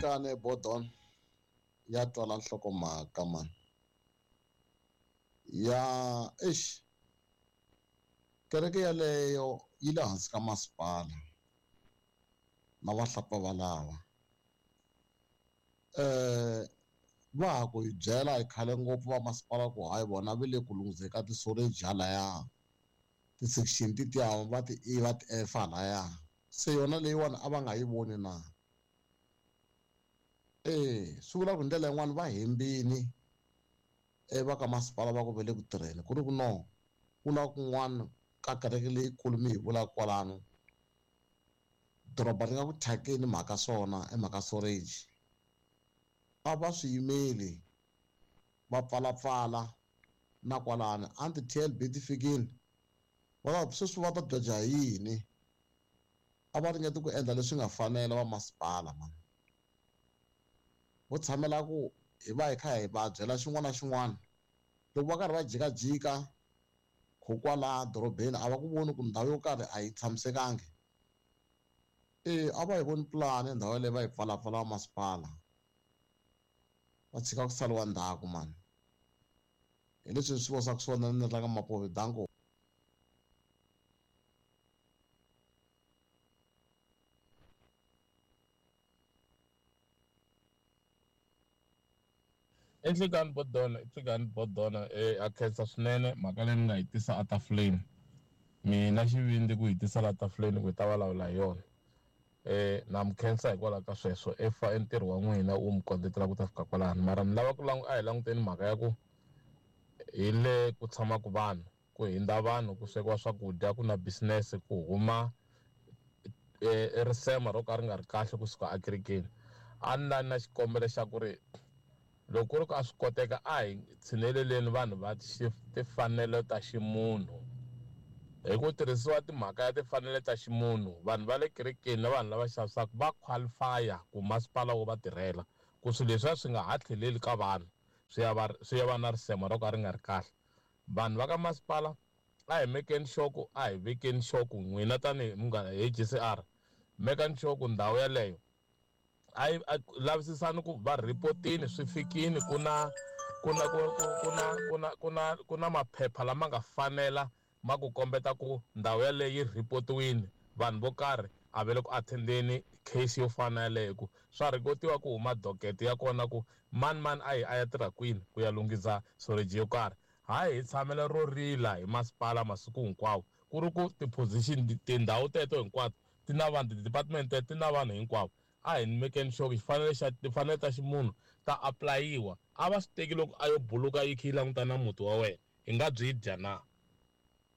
Nhlikani Bodon ya twala nhlokomhaka mani. Ya eish kereke yaleyo yi le hansi ka masipala na vahlapfa valava. Va ha ku hi byela hi khale ngopfu va masipala ku hayi vona va le ku lungheni ka ti-storage halaya ti-section tetiya va ti E va ti F halaya se yona leyiwani a va nga yi voni na e swi vula ku hi ndlela yin'wani va hembini e va ka masipala va ku ve le ku tirheni ku ri ku no ku na kun'wana ka kereke leyikulu mi hi vulaka kwalano doroba ri nga ku thyakeni mhaka swona i mhaka storage a va swi yimeli va pfalapfala na kwalano a ni ti-T_L_B ti fikile va ta sweswi va ta dyoja hi yini a va ringeti ku endla leswi nga fanela va masipala mani vo tshamela ku hi va hi kha hi va byela xin'wana na xin'wana loko va karhi va jikajika kwala dorobeni a va ku voni ku ndhawu yo karhi a yi tshamisekangi e a va yi voni pulani ndhawu yaleyo va yi pfalapfala va masipala va tshika ku saliwa ndzhaku mani hi leswi swi vosaka swona ni tlanga mapovi danko. I nhlikani Bodona i nhlikani Bodona a khensa swinene mhaka leyi mi nga yi tisa etafuleni mina xivindzi ku yi tisa la tafuleni ku hi ta vulavula hi yona na mi khensa hikwalaho ka sweswo i fa i ntirho wa n'wina wu mi kondletela ku ta fika kwalano mara ni lava ku a hi languteni mhaka ya ku hi le ku tshamaka vanhu ku hindza vanhu ku swekiwa swakudya ku na business ku huma risema ro ka ri nga ri kahle kusuka ekerekeni a ni la na xikombelo xa ku ri loko ku ri ku a swi koteka a hi tshineleleni vanhu va timfanelo ta ximunhu hi ku tirhisiwa timhaka ya timfanelo ta ximunhu vanhu va le kerekeni na vanhu lava xavisaka va qualify-a ku masipala wo va tirhela ku swilo leswiya swi nga ha tlheleli ka vanhu swi ya va swi ya va na risema ro ka ri nga ri kahle vanhu va ka masipala a hi mekeni sure ku a hi vekeni sure ku n'wina tanihi munghana hi G_C_R mekani sure ku ndhawu yeleyo a yi lavisisani ku va report-ini swi fikini ku na ku na ku ku na ku na ku na ku na maphepha lama nga fanela ma ku kombeta ku ndhawu yaleyo yi report-iwini vanhu vo karhi a va le ku attend-eni case yo fana na yaleyo ku swa rhekotiwa ku huma docket ya kona ku mani mani a yi a ya tirha kwini ku ya lunghisa storage yo karhi hayi hi tshamela ro rila hi masipala masiku hinkwawo ku ri ku ti-position tindhawu teto hinkwato ti na vanhu ti-department teto ti na vanhu hinkwavo a hi mekeni sure xifanele xa timfanelo ta ximunhu ta apulayiwa a va swi teki loko a yo buluka yi kha yi languta na muti wa wena hi nga byi dya na.